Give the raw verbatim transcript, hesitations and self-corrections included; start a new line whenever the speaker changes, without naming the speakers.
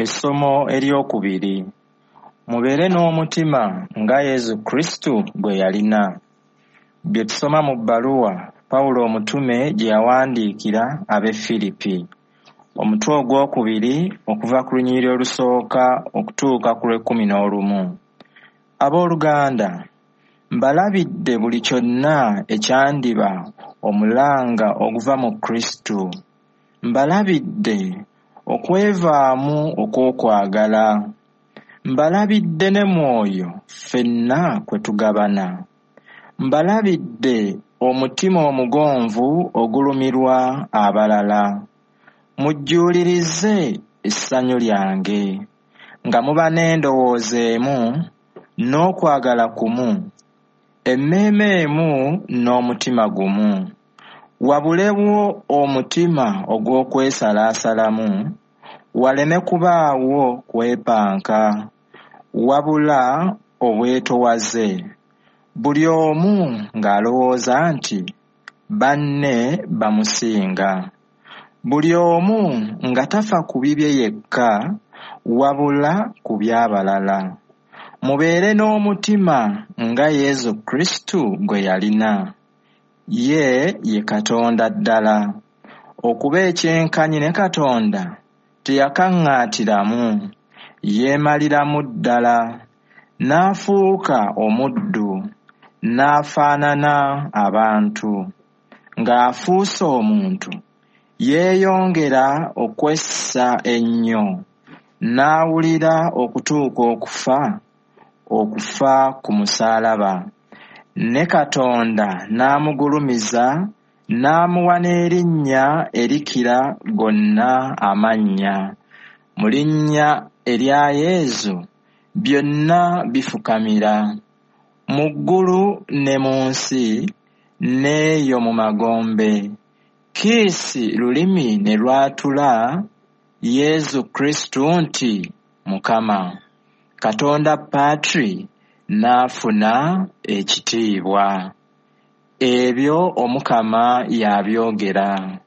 Essomo eryokubiri. Mubeere n'omutima nga Yesu Kristo gwe yalina. Bye tusoma mu bbaluwa Pawulo omutume gye yawandiikira ab'e Firipi. Omutwe ogwokubiri okuva ku lunyiriri olusooka okutuuka ku lw'ekkumi n'olumu. Abooluganda, mbalabidde buli kyonna ekyandiba omulanga oguva mu Kristo. Mbalabidde okwevaamu okw'okwagala. Mbalabidde ne Mwoyo ffenna kwe tugabana. Mbalabidde omutima omugonvu ogulumirwa abalala. Mujjuulirize essanyu lyange, nga muba n'endowooza emu n'okwagala kumu, emmeeme emu n'omutima gumu. Wabulewo omutima ogw'okwesalaasalamu, waleme kubaawo kwepanka, wabula obwetoowaze, buli omu ng'alowooza nti banne bamusinga. Buli omu nga tafa ku bibye yekka, wabula ku by'abalala. Mubeere n'omutima nga Yesu Kristo gwe yalina. Ye ye Katonda ddala. Okuba ekyenkanyi ne Katonda teyakaŋŋaatiramu, yeemaliramu ddala, n'afuuka omuddu, n'afaanana abantu. Ng'afuuse omuntu, yeeyongera okwessa ennyo, n'awulira okutuuka okufa, okufa ku musaalaba. Ne Katonda n'amugulumiza, n'amuwa n'erinnya erikira gonna amannya. Mu linnya erya Yesu byonna bifukamira, mu ggulu ne mu nsi, n'eyo mu magombe. Kiisi lulimi ne lwatula Yesu Kristo nti Mukama. Katonda Patri n'afuna ekitiibwa. Ebyo Omukama y'abyogera.